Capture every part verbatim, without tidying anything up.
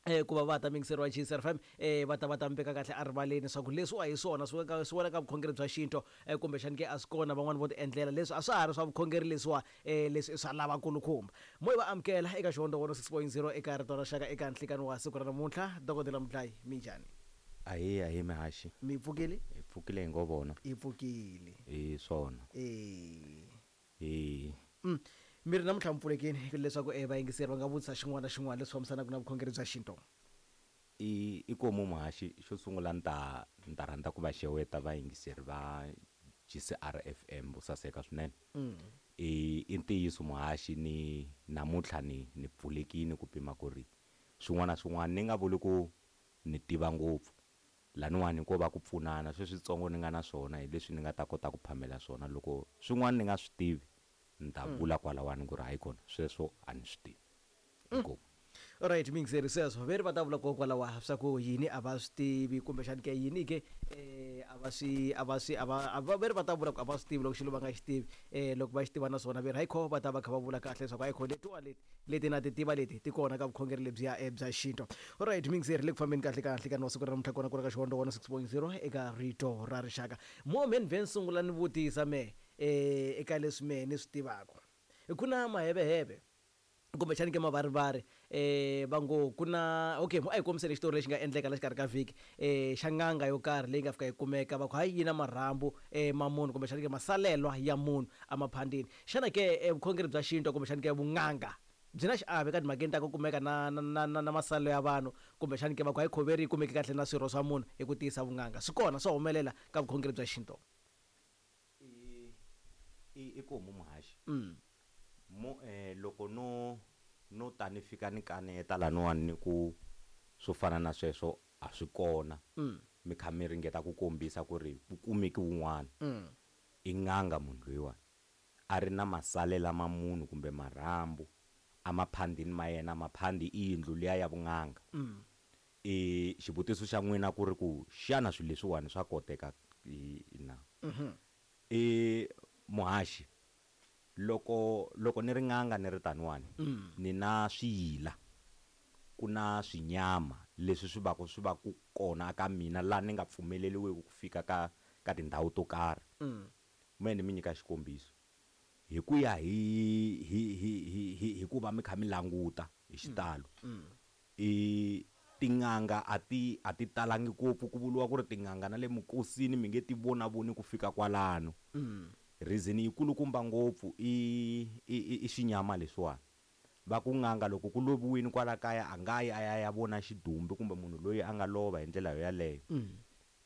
Eh, ku va va ta mingiseriwa G C R F M, eh, va ta va ta mi veka kahle erivaleni leswaku leswiwa hi swona swi weka, swi wela ka vukhongeri bya xintu, eh, kumbexani ke a swi kona van'wani vo ti endlela leswi a swa ha ri swa vukhongeri leswiwa, eh, leswi i swa lavakulukumba. Mo hi va amukela eka Xihondzo one oh six point zero eka Rito ra Rixaka eka nhlikani wa siku ra namuntlha. Dokodela Mudlayi, minjhani? Ahee, ahee mihaxi. Mi pfukile? Hi pfukile hi ngo vona. Hi pfukile. Hi swona. Eh. Eh. Mm. Mi ri namuntlha mi pfulekile leswaku, eh, vayingiseri va nga vutisa xin'wana na xin'wana leswi fambisanaka na vukhongeri bya xintu. I, i komu muhaxi, xo sungula ni ta, ni ta rhandza ku va xeweta vayingiseri va G C R F M vo saseka swinene. Mm. I, i ntiyiso muhaxi, ni namuntlha ni, ni pfulekile ku pima ku ri swin'wana na swin'wana ni nga vuli ku ni tiva ngopfu. Laniwani ko va ku pfunana, sweswitsongo ni nga na swona hi leswi ni nga ta kota ku phamela swona. Loko swin'wana ni nga swi tivi, ni ta Mm. vula kwalawani ku ri hayi kona sweswo a ni swi tivi. Mm. Inkomu. Alright, mingiseri sweswo ve ri va ta vula kokwalawa swa ku yini a va swi tivi kumbexani ke yini ke, eh, a va swi, a va swi, a va, a va, ve ri va ta vula ku a va swi tivi loko xilo va nga xi tivi, eh, loko va xi tiva na swona ve ri hayi kho va ta va kha va vula kahle leswaku hayi kho letiwa leti, leti na ti tiva leti ti kona ka vukhongeri lebyiya, eh, bya xintu. Alright, mingiseri le ku fambeni kahle ka nhlikani wa siku ra namuntlha kona kwala ka Xihondzo one oh six point zero eka Rito ra Rixaka. Mo me ni vhe ni sungula ni vutisa me, eh, eka leswi mehe ni swi tivaka. Ku na maheveheve kumbexani ke mavarivari, eh, va ngo ku na, okay, a hi kombiseni xitori lexi nga endleka la xikarhi ka vhiki, eh, xa n'anga yo karhi leyi nga fika yi kumeka va ku hayi yi na marhambu, eh, ma munhu kumbexani ke masalelwa ya munhu emaphandeni. Xana ke, eh, vukhongeri bya xintu kumbexani ke vun'anga byi na xiave ka timhakeni ta ku kumeka na, na, na, na, na masalelo ya vanhu kumbexani ke va ku hayi khoveri yi kumeke kahle na swirho swa munhu hi ku tiyisa vun'anga? Swi kona swa humelela ka vukhongeri bya xintu? I, i, i ku homu muhaxi. Mm. Mo, eh, loko no, no ta ni fika ni kaneta laniwani ni ku swo fana na sweswo a swi kona. Mm. Mi kha mi ringeta ku kombisa ku ri ku kumeki wun'wana. Mm. I n'anga munhu loyiwani. A ri na masalela ma munhu kumbe marhambu a maphandini ma yena, maphandi i yindlu liya ya vun'anga. Mm. I xivutiso xa n'wina ku ri ku xana swilo leswiwani swa koteka i na? Mm-hmm. I muhaxi, loko, loko ni ri n'anga ni ri taniwani, Mm. ni na swiyila, ku na swinyama leswi swi va ku, swi va ku kona ka mina laha ni nga pfumeleriwiki ku fika ka, ka tindhawu to karhi. Mm. Mehe ni mi nyika xikombiso. Hi ku ya hi, hi, hi, hi, hi, hi ku va mi kha mi languta hi xitalo. Mm. I tin'anga a ti, a ti talangi ngopfu, ku vuriwa ku ri tin'anga na le mukosini mi nge ti vonavoni ku fika kwalano. Mm. Reason yi kulukumba ngopfu i, i, i, i xinyama leswiwani. Va ku n'anga loko ku loviwile kwala kaya a nga yi a ya ya vona xidumbu kumbe munhu loyi a nga lova hi ndlela yoyaleyo. Mm.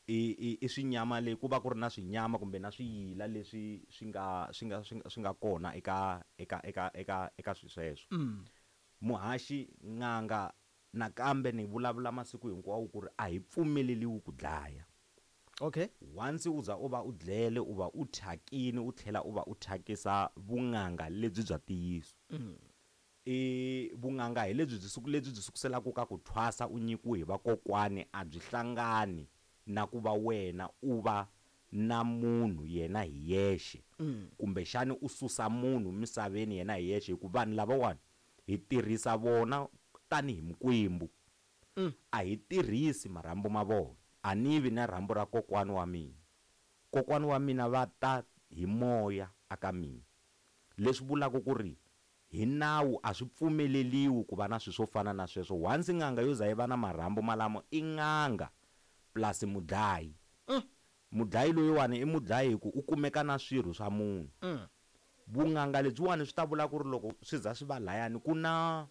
I, i, i swinyama leyi ku va ku ri na swinyama kumbe na swiyila leswi swi nga, swi nga, swi nga, swi nga kona eka, eka, eka, eka, eka swilo sweswo. Mm. Muhaxi, n'anga nakambe ni vulavula masiku hinkwawo ku ri a hi pfumeleriwi ku dlaya. Okay. Once u za u va u dlele, u va u thyakini, u tlhela u va u thyakisa vun'anga lebyi bya ntiyiso. Mm. I vun'anga hi lebyi byi suku, lebyi byi sukuselaka ka ku thwasa u nyikiwe hi vakokwani, a byi hlangani na ku va wena u va na munhu yena hi yexe. Mm. Kumbexani u susa munhu misaveni yena hi yexe, hikuva vanhu lavawani hi tirhisa vona tanihi mikwembu. Mm. A hi tirhisi marhambu ma vona. A ni vi na rhambu ra kokwani wa mina. Kokwani wa mina va ta hi moya aka mina. Leswi vulaka ku ri hi nawu a swi pfumeleliwi ku va na swilo swo fana na sweswo. Once n'anga yo za yi va na marhambu malamo i n'anga plus mudlayi. Mm. Mudlayi loyiwani i mudlayi hi ku u kumeka na swirho swa munhu. Mm. Vun'anga lebyiwani swi ta vula ku ri loko swi za swi va layani ku na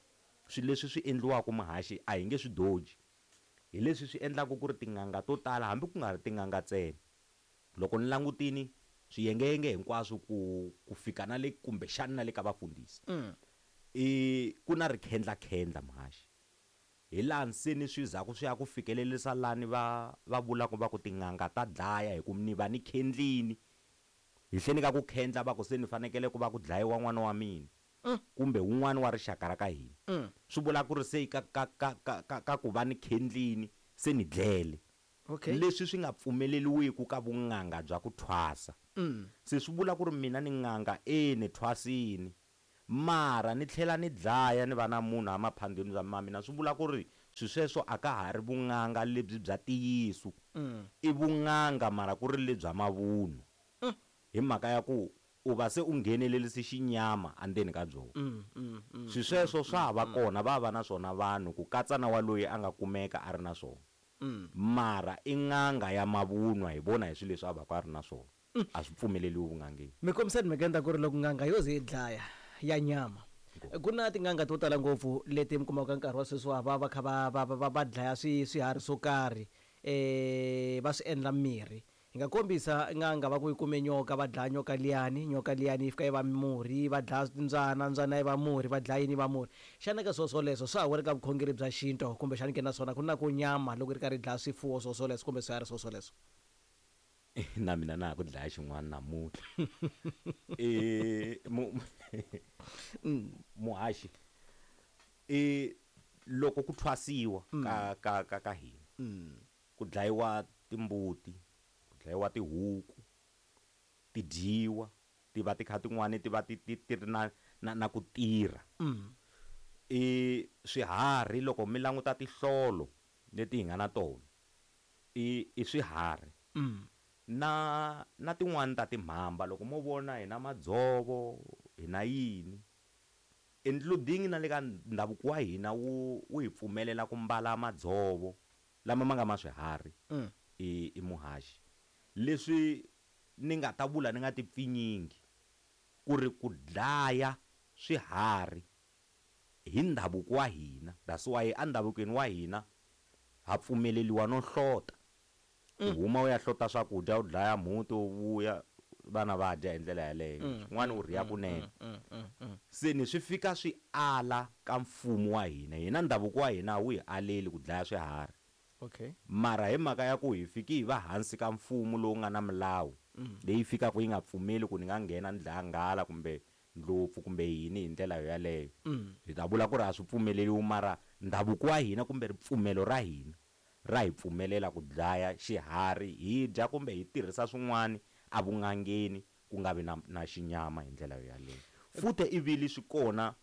swilo leswi swi endliwaka muhaxi a hi nge swi doji. Hi leswi swi endlaka ku ri tin'anga to tala hambi ku nga ri tin'anga ntsena. Loko ni langutini swiyengeyenge hinkwaswo ku, ku fika na le kumbexana na le ka vafundhisi. Mm. I ku na rikhendlakhendla muhaxi. Hi laha se ni swi zaku swi ya ku fikelerisa lani va, va vulaka va ku tin'anga ta dlaya hi ku ni va ni khendlini. Hi hleni ka ku khendla va ku se ni fanekele ku va ku dlayiwa n'wana wa mina. Mm. Kumbe wun'wana wa rixaka ra ka hina. Mm. Swi vula ku ri se ka, ka, ka, ka, ka, ka ku va ni khendlini se ni dlele. Okay. Leswi swi nga pfumeleriwiki ka vun'anga bya ku thwasa. Mm. Se swi vula ku ri mina ni n'anga, e ni thwasini. Mara ni tlhela ni dlaya ni va na munhu emaphandeni bya ma mina, swi vula ku ri Swi sweswo a ka ha ri vun'anga lebyi bya ntiyiso. Mm. I vun'anga mara ku ri lebya mavunwa. Mm. Hi mhaka ya ku u va se u nghenelerise xinyama endzeni ka byona. Mm, mm, mm, Swi sweswo swa ha va mm, kona, va va na swona vanhu ku katsa na wa loyi a nga kumeka a ri na swona. Mm. Mara i n'anga ya mavunwa hi vona hi swilo leswi a va ka a ri na swona. Mm. A swi pfumeleriwi vun'angeni. Mi kombisani mi endla ku ri loko n'anga yo ze yi dlaya ya nyama. Ku na tin'anga to tala ngopfu leti mi kumaka nkarhi wa sweswi wa va va kha va va va va dlaya swi swiharhi swo karhi eh va swi endla mirhi. Hi nga kombisa n'anga va ku yi kume nyoka, va dlaya nyoka liyani, nyoka liyani yi fika yi va murhi, va dlaya mbyana, mbyana yi va murhi, va dlaya yini yi va murhi. Xana ka swilo swoleswo swa ha wela ka vukhongeri bya xintu kumbexana ke naswona ku na ku nyama loko yi ri karhi yi dlaya swifuwo swo swoleswo kumbe swiharhi swo swoleswo? Na mina na ha ku dlaya xin'wana namuntlha. Eh mu muhaxi i loko ku thwasiwa ka ka ka ka hina ku dlayiwa timbuti, ku dlayiwa tihuku, ti dyiwa, ti va ti kha tin'wani ti va ti ti ti ri na na na ku tirha. I swiharhi loko mi languta tinhlolo leti hi nga na tona i i swiharhi. Na na tin'wani ta timhamba loko mo vona hi na madzovo, hi na yini, including na le ka ndhavuko wa hina wu wu hi pfumelela ku mbala madzovo lama ma nga ma swiharhi i i muhaxi. Leswi ni nga ta vula ni nga ti pfinyingi ku ri ku dlaya swiharhi hi ndhavuko wa hina, that's why endhavukweni wa hina ha pfumeleriwa no hlota. U huma u ya hlota swakudya, u dlaya mhuti, u vuya vana va dya hi ndlela yaleyo. Swin'wana u rhiya kunene. Se ni swi fika swi ala ka mfumo wa hina. Hina ndhavuko wa hina a wu hi aleli ku dlaya swiharhi. Okay. Mara hi mhaka ya ku hi fiki hi va hansi ka mfumo lowu nga na milawu leyi fikaka yi nga pfumeli ku ni nga nghena ni dlaya nghala kumbe ndlopfu kumbe yini hi ndlela yaleyo. Hi ta vula ku ri a swi pfumeleriwi, mara ndhavuko wa hina kumbe ripfumelo ra hina ra hi pfumelela ku dlaya xiharhi hi dya kumbe hi tirhisa swin'wana evun'angeni ku nga vi na na xinyama hi ndlela yaleyo. Futhi ivili swi kona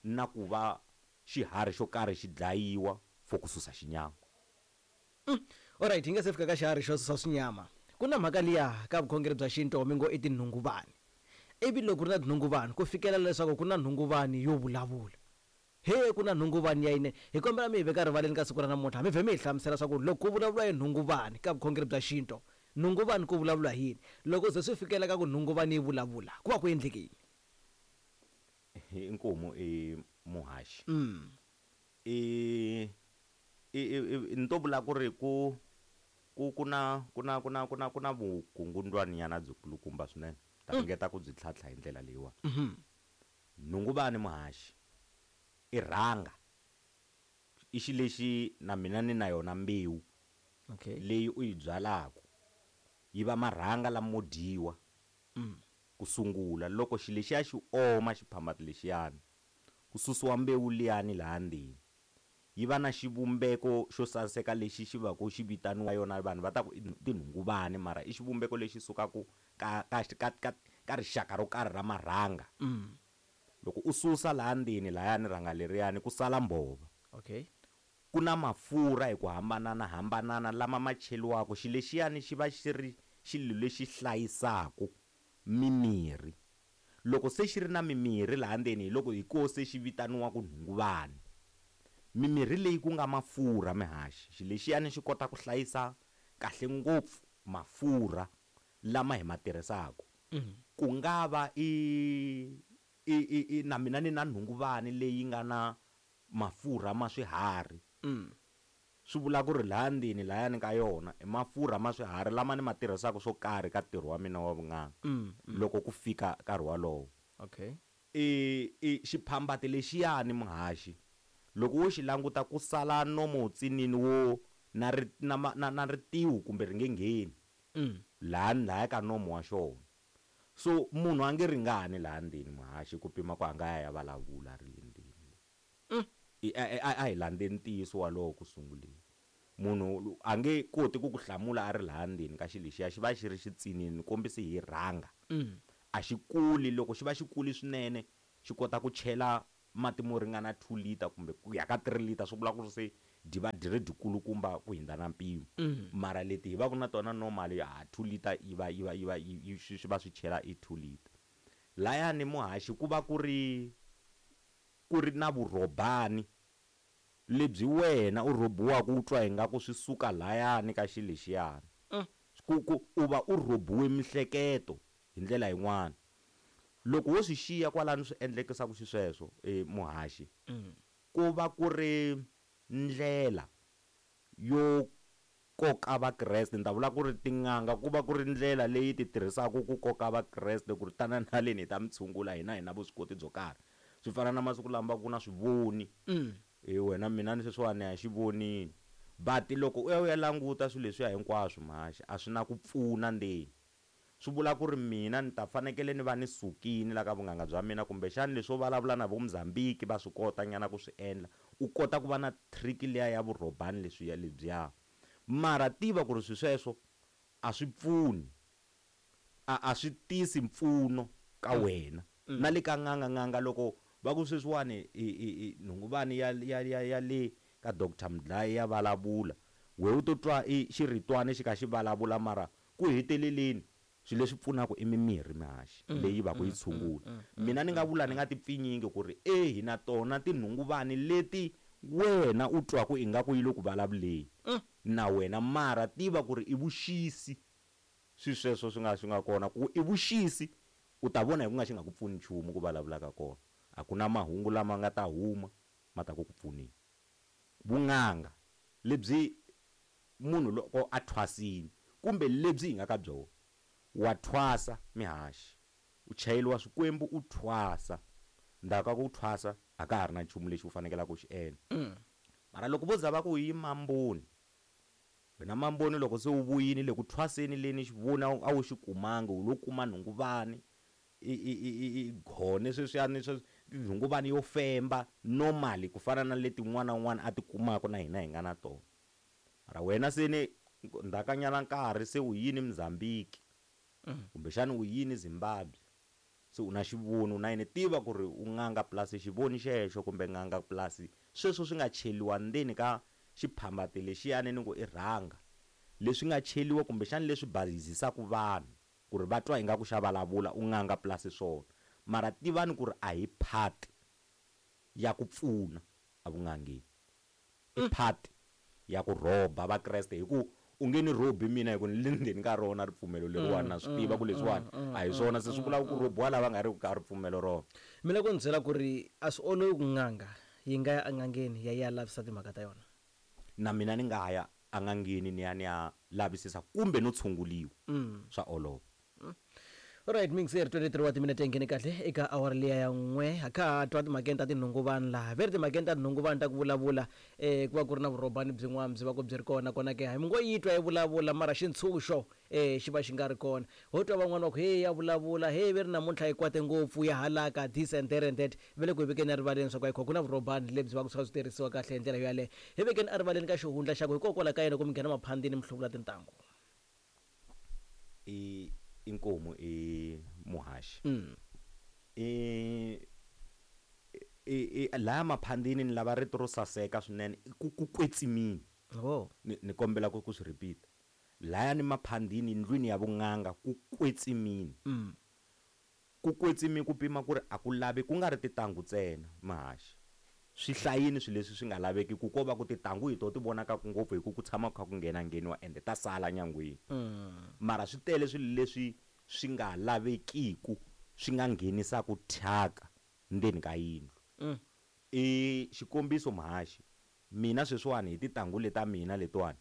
na ku va xiharhi xo karhi xi dlayiwa for ku susa xinyama. Alright, hi nga se fika ka xiharhi xo susa swinyama. Ku na mhaka liya ka vukhongeri bya xintu mi ngo i tinhunguvani. Ivi loko ku ri na tinhunguvani ku fikela leswaku ku na nhunguvani yo vulavula. He ku na nhunguvani ya yine. Hi kombela mi hi veka rivaleni ka siku ra namuntlha, mi vhe mi hi hlamusela swa ku loko ku vulavuriwa hi nhunguvani ka vukhongeri bya xintu, nhunguvani ku vulavuriwa hi yini? Loko ze swi fikela ka ku nhunguvani yi vulavula, ku va ku endleke yini? Inkomu i muhaxi. Mm. I i i ni to vula ku ri ku ku ku na ku na ku na ku na ku na vukungundwaninyana byi kulukumba swinene. Ta ringeta ku byi tlhantlha hi ndlela leyiwani. Nhunguvani muhaxi i rhanga i xilo lexi na mina ni na yona mbewu Okay. leyi u yi byalaka yi va marhanga lamo dyiwa ku sungula. Loko xilo lexiya xi oma xiphambati lexiyani ku susiwa mbewu liyani laha ndzeni yi va na xivumbeko xo saseka lexi xi va ku xi vitaniwa yona vanhu va ta ku i tinhunguvani, mara i xivumbeko lexi sukaka ka ka ka ka ka rixaka ro karhi ra marhanga. Loko u susa laha ndzeni lahayani rhanga leriyani ku sala mbhova. Okay. Ku na mafurha hi ku hambanana hambanana lama ma cheriwaka. Xilo lexiyani xi va xi ri xilo lexi hlayisaka mimirhi. Loko se xi ri na mimirhi laha ndzeni hi loko hi koho se xi vitaniwaka nhunguvani. Mimirhi leyi ku nga mafurha mihaxi, xilo lexiyani xi kota ku hlayisa kahle ngopfu mafurha lama hi ma tirhisaka. Ku nga va i i i i na mina ni na nhunguvani leyi nga na mafurha ma swiharhi. Swi vula ku ri laha ndzeni lahayani ka yona i mafurha ma swiharhi lama ni ma tirhisaka swo karhi ka ntirho wa mina wa vun'anga loko ku fika nkarhi wolowo. Okay. I i xiphambati lexiyani muhaxi loko wo xi languta ku sala nomo wutsinini wo na ri na na na ritiho kumbe ri nge ngheni laha lahaya ka nomo wa xona. So munhu a nge ringani laha ndzeni muhaxi ku pima ku a nga ya ya vulavula a ri le ndzeni. I a a hi landzeni ntiyiso walowo ku sunguleni. Munhu a nge koti ku ku hlamula a ri laha ndzeni ka xilo lexiya xi va xi ri xitsinini ni kombise hi rhanga. A xi kuli, loko xi va xi kuli swinene xi kota ku chela mati mo ringana two liter kumbe ku ya ka three liter, swi vula ku ri se dyi va dyi ri dyikulukumba ku hindza na mpimo. Mm. Mara leti hi va ku na tona normal ha two liter yi va yi va yi va yi swi va swi chela i two liter. Layani muhaxi ku va ku ri ku ri na vurhobani lebyi wena u rhobiwaka u twa ingaku swi suka layani ka xilo lexiyani. Mm. Ku ku u va u rhobiwe mihleketo hi ndlela yin'wana. Loko wo swi xiya kwalano swi endlekisaka xisweswo e muhaxi, Mm. ku va ku ri ndlela yo koka vakreste. Ni ta vula ku ri tin'anga ku va ku ri ndlela leyi ti tirhisaka ku koka vakreste ku ri tana na leni hi ta mi tshungula hina hi na vuswikoti byo karhi. Swi fana na masiku lama ku na swivoni. Mm. E wena mina ni sweswiwani a xi vonini. But loko u ya u ya languta swilo leswiya hinkwaswo muhaxi a swi na ku pfuna ndzeni. Swi vula ku ri mina ni ta fanekele ni va ni sukile la ka vun'anga bya mina, kumbexani leswo vulavula na vo Mozambique va swi kota nyana ku swi endla, u kota ku va na trick liya ya vurhobani leswiya lebyiya. Mara tiva ku ri swi sweswo a swi pfuni, a a swi tisi mpfuno ka wena. Mm. Na le ka n'anga, n'anga loko va ku sweswiwani i, i, i nhunguvani ya, ya, ya, ya le ka Doctor Mudlayi ya vulavula, we u to twa i xiritwana xi kha xi vulavula, mara ku heteleleni swilo leswi pfunaka i mimirhi mihaxi Mm, leyi va ku yi mm, tshungula. mm, mm, Mina ni nga vula ni nga ti pfinyingi ku ri e hi na tona tinhunguvani leti wena u twaku ingaku yi le ku vulavuleni Mm. na wena, mara tiva ku ri i vuxisi swi sweswo swi nga swi nga kona ku i vuxisi, u ta vona hi ku nga xi nga ku pfuni nchumu ku vulavula ka kona. A ku na mahungu lama nga ta huma ma ta ku ku pfuneni. Vun'anga lebyi munhu loko a thwasini kumbe lebyi hi nga ka byona, wa thwasa mihaxi, u chayeliwa swikwembu u thwasa, ndzhaku ka ku thwasa a ka ha ri na nchumu lexi u fanekelaka ku xi endla. Mm. Mara loko vo za va ku yi mamboni, wena mamboni loko se u vuyini le ku thwaseni leni xivoni a wu xi kumanga, u lo kuma nhunguvani i, i, i, i, i gone sweswiyani swa nhunguvani yo femba normally ku fana na leti un'wana na un'wana a ti kumaka na hina hi nga na tona. Mara wena se ni ndzhakanyana nkarhi se u yini Mozambique, Mm. kumbexani u yini Zimbabwe, se u na xivoni u na yini, tiva ku ri u n'anga plus xivoni xexo kumbe n'anga plus sweswo swi nga cheliwa ndzeni ka xiphambati lexiyani ni ku i rhanga leswi nga cheliwa kumbexani leswi bazisaka vanhu ku ri va twa ingaku xa vulavula, u n'anga plus swona. Mara tivani ku ri a hi part ya ku pfuna evun'angeni, i part ya ku rhoba vakreste, hi ku u nge ni rhobi mina hi ku ni le ndzeni ka rona ripfumelo leriwani, na swi tiva ku leswiwani a hi swona, se swi vula ku rhobiwa lava nga ri ka ripfumelo rona. Mina ku ni byela ku ri a swi olovi ku n'anga yi nga ya en'angeni ya ya lavisisa timhaka ta yona. Na mina ni nga ya en'angeni ni ya ni ya lavisisa kumbe no tshunguliwa, Mm. swa olova. Alright, mixer twenty-three wa timinete nghene kahle eka awara liya ya n'we. Ha kha ha twa timhakeni ta tinhunguvani laha, ve ri timhakeni ta tinhunguvani ta ku vulavula, eh, ku va ku ri na vurhobani byin'wana byi va ku byi ri kona. Kona ke hi mi ngo yi twa yi vulavula, mara xintshunxo, eh, xi va xi nga ri kona. Ho twa van'wani va ku hey ya vulavula, hey ve ri namuntlha yi kwate ngopfu ya halaka this and that and that. Ve le ku hi vekeni erivaleni swa ku ayikho ku na vurhobani lebyi va ku swi kha swi tirhisiwa kahle hi ndlela yo yaleyo. Hi vekeni erivaleni ka xihundla xa ku hikokwalaho ka yena ku mi nghena maphandini mi hluvula tintangu. I inkomu i muhaxi. Mm. I, i, i laha maphandini ni lava rito ro saseka swinene, ku, ku kwetsimini. Oh. Ni, ni kombela ku, ku swi repeat. Laya ni maphandini ndlwini ya vun'anga ku kwetsimini. Mm. Ku kwetsimi ku pima ku ri a ku lavi ku nga ri tintangu ntsena muhaxi. Swi hlayini swilo leswi swi nga laveki ku ko va ku tintangu hi to ti vonakaka ngopfu hi ku ku tshama ku kha ku nghena ngheniwa ende ta sala nyangweni. Mm. Mara swi tele swilo leswi swi nga lavekiku swi nga nghenisaka thyaka ndzeni ka yindlu. Mm. I xikombiso muhaxi, mina sweswiwani hi tintangu leta mina letiwani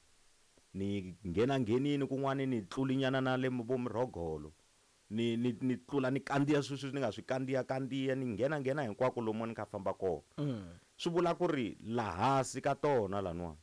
ni nghena nghenini kun'wani ni tlulinyana na le vo murhogolo, ni, ni, ni tlula ni kandziya sweswi ni nga swi kandziya kandziya, ni nghena nghena hinkwako lomu ni kha famba kona. Mm. Swi vula ku ri lahasi ka tona laniwani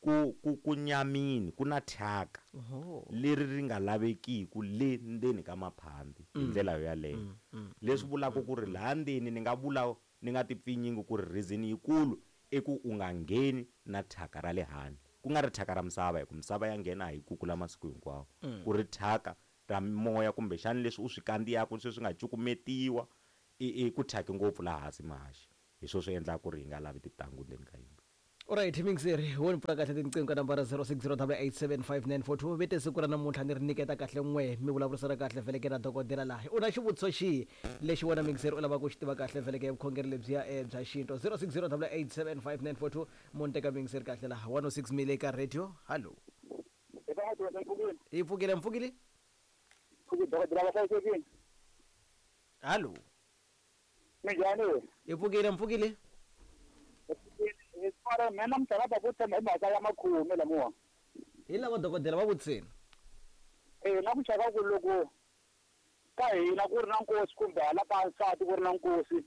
ku, ku, ku nyamini ku na thyaka Oho. leri ri nga lavekiku le ndzeni ka maphandi hi Mm. ndlela yo yaleyo. Mm, mm, Leswi mm, vulaka mm, ku ri mm. laha ndzeni ni nga vula ni nga ti pfinyingi ku ri reason yikulu i ku u nga ngheni na thyaka ra le handle, ku nga ri thyaka ra misava, hi ku misava ya nghena hi kukula masiku hinkwawo, Mm. ku ri thyaka ra moya kumbexani leswi u swi kandziyaka sweswi nga cukumetiwa, i, i ku thyaki ngopfu laha hansi muhaxi. Hi swona swi endlaka ku ri hi nga lavi tintangu ndzeni ka yindlu. Alright mixer wo ni pfula kahle tinqingho ka nambara zero six zero double eight seven five nine four two vete siku ra namuntlha ni ri nyiketa kahle n'we mi vulavurisana kahle vhele ke na dokodela laha u na xivutiso xihi lexi wena mixer u lavaka ku xi tiva kahle vhele ke vukhongeri lebyiya eh, bya xinto zero six zero double eight seven five nine four two munhu teka mixer kahle laha one oh six mile ka radio hallo yi pfukile mpfukile hallo Minjhani? Yi pfukile mpfukile Mara mina namuntlha va ku tshemba hi mhaka ya makhume lamiwa. Hi lava dokodela va vutisini. Eh na ku chava ku loko ka hina ku ri na nkosi kumbe hala ka nsati ku ri na nkosi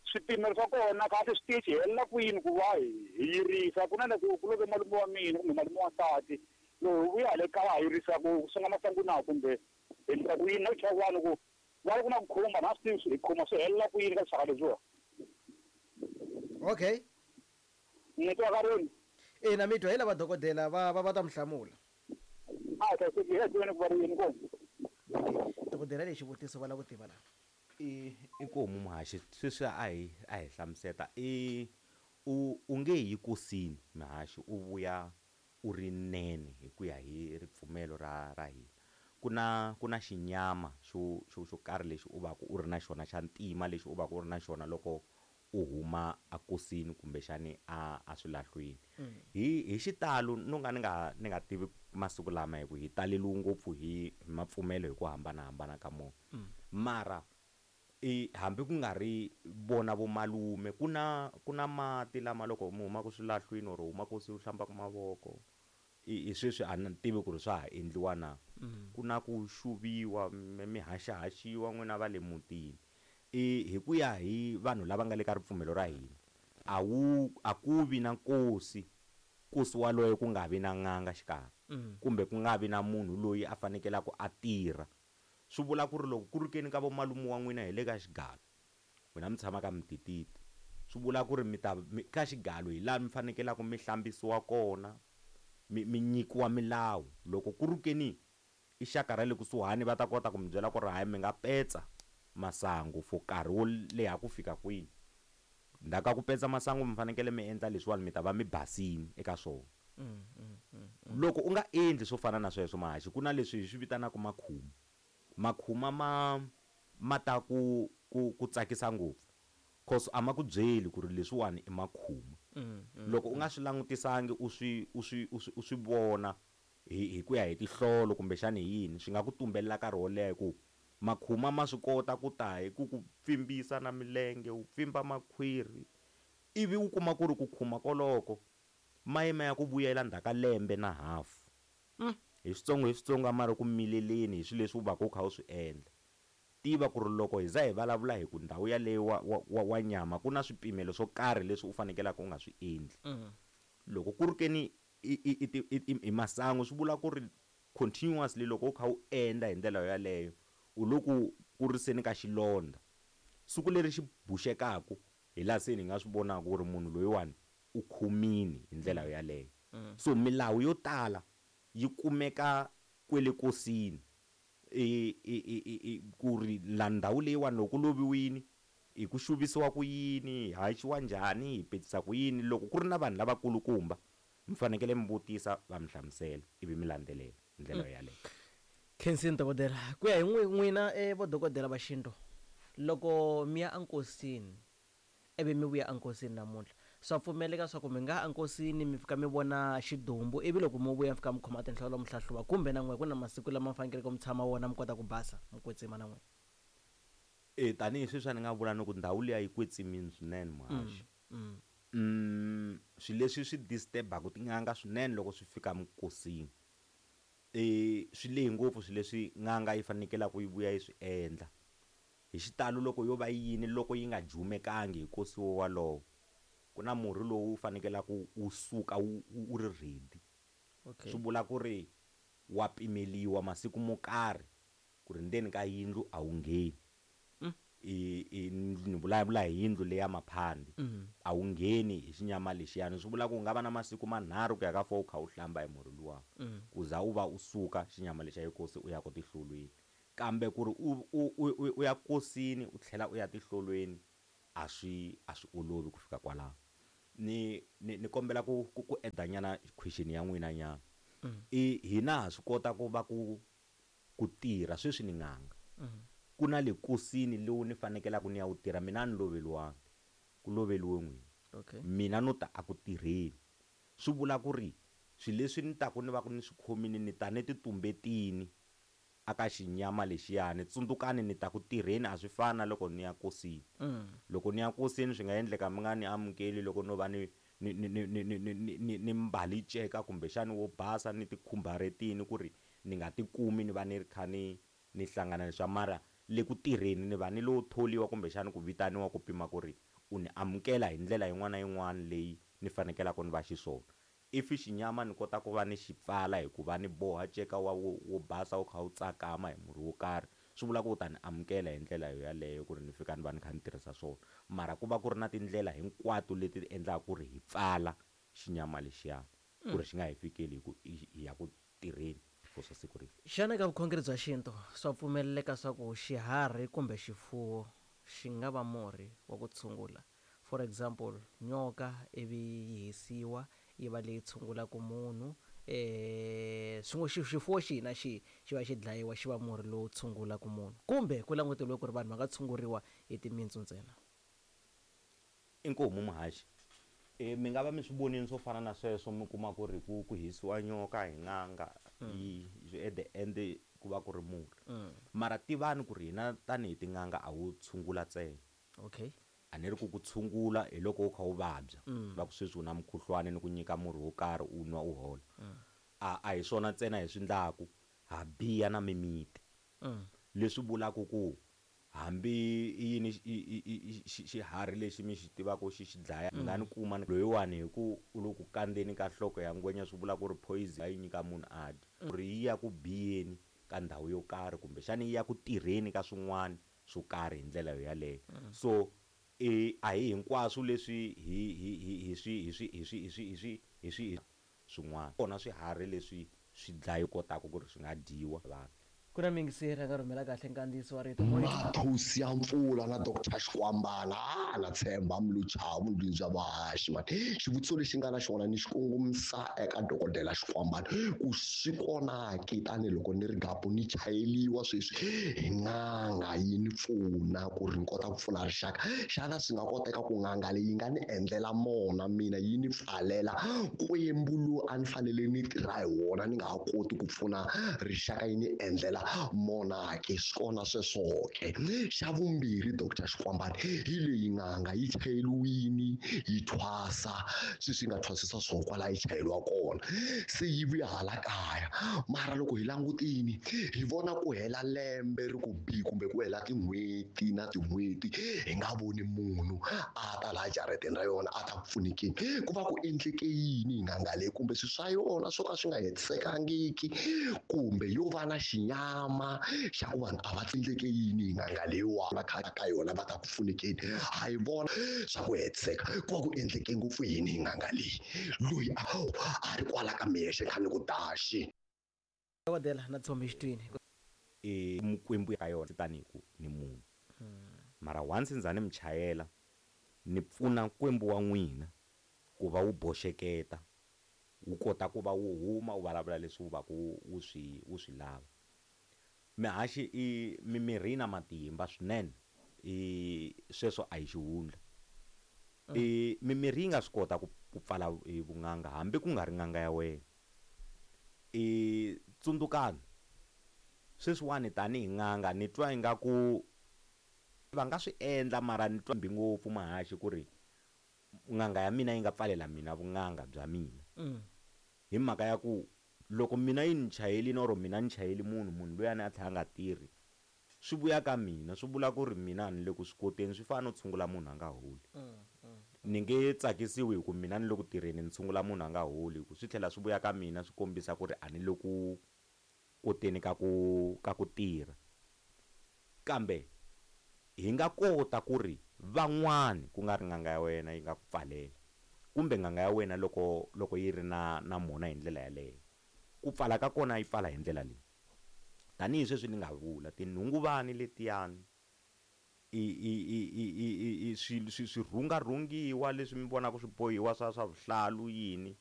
swipimelo swa kona kahle switichi helela kwini ku va hi yirisa ku na loko ku loko malume wa mina kumbe malume wa nsati loko vuya hale kaya ha yirisa ku songa masangu na kumbe hi endla ku yini na ku chava vanhu ku va ri ku na ku khumba na swi tivi hi khuma swi helela kwini ka swaka leswiwa. Okay. Ni twa ka rini? Ina mi twa hi lava dokodela va va va ta mi hlamula. A ta se hi tiveni ku va ri yini kona. Dokodela lexi xivutiso va lava ku tiva laha. I i ku homu muhaxi sweswi a hi a hi hlamuseta i u u nge yi kosini muhaxi u vuya u ri nene hi ku ya hi ripfumelo ra ra hina. Ku na ku na xinyama xo xo xo karhi lexi u va ku u ri na xona xa ntima lexi u va ku u ri na xona loko u huma a kosini kumbexani a a swilahlwini. Hi hi xitalo no nga ni nga ni nga tivi masiku lama hi ku hi taleliwe ngopfu hi mapfumelo hi ku hambanahambana ka mona. Mara i hambi ku nga ri vona vomalume ku na ku na mati lama loko mi humaka swilahlwini or huma kosini u hlambaka mavoko i i sweswi a ni tivi ku ri swa ha endliwa na. Ku na ku xuviwa mi haxahaxiwa n'wina va le mutini. I hi ku ya hi vanhu lava nga le ka ripfumelo ra hina a wu a ku vi na nkosi nkosi waloye ku nga vi na n'anga xikarhi kumbe ku nga vi na munhu loyi a fanekelaka a tirha. Swi vula ku ri loko ku ri keni ka vomalume wa n'wina hi le ka xigalo n'wina mi tshama ka Mtititi swi vula ku ri mi ta ka xigalo hi laha mi fanekelaka mi hlambisiwa kona mi mi nyikiwa milawu. Loko ku ri keni i xaka ra le kusuhani va ta kota ku mi byela ku ri hayi mi nga petsa masangu for nkarhi wo leha ku fika kwini. Ndzhaku ka ku petsa masangu mi fanekele mi endla leswiwani mi ta va mi basini eka swona. Loko u nga endli swo fana na sweswo mahaxi ku na leswi hi swi vitanaka makhuma. Makhuma ma ma ta ku ku ku tsakisa ngopfu cause a ma ku byeli ku ri leswiwani i makhuma. Loko u nga swi langutisangi u swi u swi u swi u swi vona hi hi ku ya hi tihlolo kumbexani hi yini swi nga ku tumbelela nkarhi wo leha hi ku makhuma ma swi kota ku ta hi ku ku pfimbisa na milenge wu pfimba makhwiri ivi u kuma ku ri ku khuma koloko ma yima ya ku vuyela ndzhaku ka lembe na hafu. Hi switsongo hi switsongo a ma ri ku mileleni hi swilo leswi u va ku u kha u swi endla. Tiva ku ri loko hi za hi vulavula hi ku ndhawu yaleyo wa wa wa nyama ku na swipimelo swo karhi leswi u fanekelaka u nga swi endli. Loko ku ri keni i i i i masangu swi vula ku ri continuously loko u kha u endla hi ndlela yaleyo u le ku kuriseni ka xilondza. Siku leri xi buxekaku hi laha se ni nga swi vonaka ku ri munhu loyiwani u khomini hi ndlela yaleyo. So milawu yo tala yi kumeka kwele kosini i i i i ku ri la ndhawu leyiwani loko ku loviwini hi ku xuvisiwa ku yini hi haxiwa njhani hi petisa ku yini. Loko ku ri na vanhu lavakulukumba mi fanekele mi vutisa va mi hlamusela ivi mi landzelela hi ndlela yaleyo. Khensini dokodela ku ya hi n'wina eh vo dokodela va xintu loko mi ya enkosini ivi mi vuya enkosini namuntlha swa pfumeleka swa ku mi nga enkosini mi fika mi vona xidumbu ivi loko mi vuya mi fika mi khoma tinhlolo mi hlahluva kumbe na n'we ku na masiku lama mi fanekeleke mi tshama wona mi kota ku basa mi kwetsima na n'we? E tanihi sweswi a ni nga vula ni ku ndhawu liya yi kwetsimini swinene muhaxi. Mm swilo leswi swi disturbaka tin'anga swinene loko swi fika minkosini e swi lehe ngopfu swilo leswi n'anga yi fanekelaka yi vuya yi swi endla. Hi xitalo loko yo va yini loko yi nga jumekangi hi nkosi walowo ku na murhi lowu fanekelaka wu suka wu wu ri ready. Okay. Swi vula ku ri wa pimeliwa masiku mo karhi ku ri ndzeni ka yindlu a wu ngheni. I i ni vulavula hi yindlu leya maphandi a wu ngheni hi xinyama lexiyani swi vula ku u nga va na masiku manharhu ku ya ka four u kha u hlamba hi murhi luwa ku za u va u suka xinyama lexiya inkosi u ya ku tihlolweni. Kambe ku ri u u u u ya kosini u tlhela u ya tihlolweni a swi a swi olovi ku fika kwalaho. Ni ni ni kombela ku ku ku edanyana question ya n'wina nyana. I hina ha swi kota ku va ku ku tirha sweswi ni n'anga. Ku na le nkosini lowu ni fanekelaka ni ya wu tirha, mina a ni loveriwanga, ku loveriwe n'wina. Okay. Mina no ta a ku tirheni. Swi vula ku ri swilo leswi ni taku ni va ku ni swi khomile ni ta ni ti tumbetini aka xinyama lexiyani. Tsundzukani ni ta ku tirheni, a swi fani na loko ni ya nkosini. Loko ni ya nkosini swi nga endleka mi nga ni amukeli loko no va ni ni ni ni ni ni ni ni ni mbali nceka kumbexani wo basa ni ti khumbaretini ku ri ni nga tikumi ni va ni ri kha ni ni hlangana leswa. Mara le ku tirheni ni va ni lo tholiwa kumbexani ku vitaniwa ku pima ku ri u ni amukela hi ndlela yin'wana na yin'wana leyi ni fanekelaka ni va xiswona. If xinyama ni kota ku va ni xi pfala hi ku va ni boha nceka wa wo, wo basa wu kha wu tsakama hi murhi wo karhi, swi vula ku u ta ni amukela hi ndlela yaleyo ku ri ni fika ni va ni kha ni tirhisa swona. Mara ku va ku ri na tindlela hinkwato leti endlaka ku ri hi pfala xinyama lexiyani ku ri xi nga hi fikeli hi ku hi ya ku tirheni for swa siku rihi. Xana eka vukhongeri bya xintu swa pfumeleleka swa ku xiharhi kumbe xifuwo xi nga va murhi wa ku tshungula? For example, nyoka ivi yi hisiwa yi va leyi tshungulaka munhu, eh swin'we xifuwo xihi na xihi xi va xi dlayiwa xi va murhi lowu tshungulaka munhu, kumbe ku languteriwe ku ri vanhu va nga tshunguriwa hi timintsu ntsena? Inkomu muhaxi. E mi nga va mi swi vonile swo fana na sweswo, mi kuma ku ri ku ku hisiwa nyoka hi n'anga, yi at the end ku va ku ri murhi. Mara tivani ku ri hina tanihi tin'anga a wu tshungula ntsena. Okay. A ni ri ku ku tshungula hi loko u kha u vabya, va ku sweswi u na mukhuhlwani ni ku nyika murhi wo karhi u nwa u hola. A a hi swona ntsena hi swi endlaku, ha biya na mimiti. Leswi vulaka ku hambi i yini xiharhi lexi mi xi tivaka xi xi dlaya, mi nga ni kuma loyiwani hi ku u le ku kandzeni ka nhloko ya ngwenya, swi vula ku ri poison va yi nyika munhu a dya, ku ri yi ya ku biyeni ka ndhawu yo karhi kumbexani yi ya ku tirheni ka swin'wana swo karhi hi ndlela yaleyo. So e a hi hinkwaswo leswi hi hi hi hi swi hi swi hi swi hi swi hi swi hi swi swin'wana kona swiharhi leswi swi dlayo kotaka ku ri swi nga dyiwa vanhu. Ku na miyingiseri a nga rhumela kahle nkandziyiso wa rito. Mathosi ya mpfula na Doctor Xikwambana, a na tshemba Mluchavu ndlwini bya vahaxi mani. Xivutiso lexi nga na xona ni xi kongomisa eka dokodela Xikwambana ku swi kona ke tanihiloko ni ri gapu ni chayeliwa sweswi hi n'anga yi ni pfuna ku ri ni kota ku pfuna rixaka. Xana swi nga koteka ku n'anga leyi nga ni endlela mona mina yi ni pfalela nkwembu lowu a ni fanele ni tirha hi wona ni nga ha koti ku pfuna rixaka yi ni endlela mona ke? Swi kona sweswo ke. Xa vumbirhi Doctor Xikwambana, hi leyi n'anga yi chayeliwini yi thwasa sweswi yi nga thwasisa swo kwala yi chayeliwa kona, se yi vuya hala kaya. Mara loko hi langutini hi vona ku hela lembe ri ku bi kumbe ku hela tin'hweti na tin'hweti hi nga voni munhu a ta laha jarateni ra yona a ta ku pfunekeni. Ku va ku endleke yini hi n'anga leyi? Kumbe swilo swa yona swo ka swi nga hetisekangiki, kumbe yo va na xinyama xa ku vanhu a va tindleke yini hi n'anga leyiwa va kha ka yona va ta ku pfunekeni? Ha yi vona swa ku hetiseka, ku va ku endleke ngopfu yini hi n'anga leyi? Loyi a a ri kwala ka mexe kha ni ku daxi. Dokodela na Tshomi Xitwini. E mukwembu ka yona tanihi ku ni munhu. Mara once ndza ni mi chayela ni pfuna nkwembu wa n'wina ku va wu boxeketa, wu kota ku va wu huma wu vulavula leswi wu va ku wu swi wu swi lava. Mihaxi i mimirhi yi na matimba swinene, i sweswo a hi xihundla. I mimirhi yi nga swi kota ku ku pfala hi vun'anga hambi ku nga ri n'anga ya wena. I tsundzukani sweswiwani tanihi n'anga ni twa ingaku va nga swi endla, mara ni twa mbi ngopfu mahaxi ku ri n'anga ya mina yi nga pfalela mina vun'anga bya mina. Hi mhaka ya ku loko mina yi ni chayelini or mina ni chayeli munhu, munhu luyani a tlhela a nga tirhi, swi vuya ka mina, swi vula ku ri mina ni le ku swi koteni. Swi fana no tshungula munhu a nga holi. Ni nge tsakisiwi hi ku mina ni le ku tirheni ni tshungula munhu a nga holi, hi ku swi tlhela swi vuya ka mina swi kombisa ku ri a ni le ku koteni ka ku ka ku tirha. Kambe hi nga kota ku ri van'wani ku nga ri n'anga ya wena yi nga ku pfalela, kumbe n'anga ya wena loko loko yi ri na na mona hi ndlela yaleyo, ku pfala ka kona yi pfala hi ndlela leyi. Tanihi sweswi ni nga vula tinhunguvani letiyani i i i i i i swi swi swirhungarhungiwa leswi mi vonaka swi bohiwa swa swa vuhlalu yini.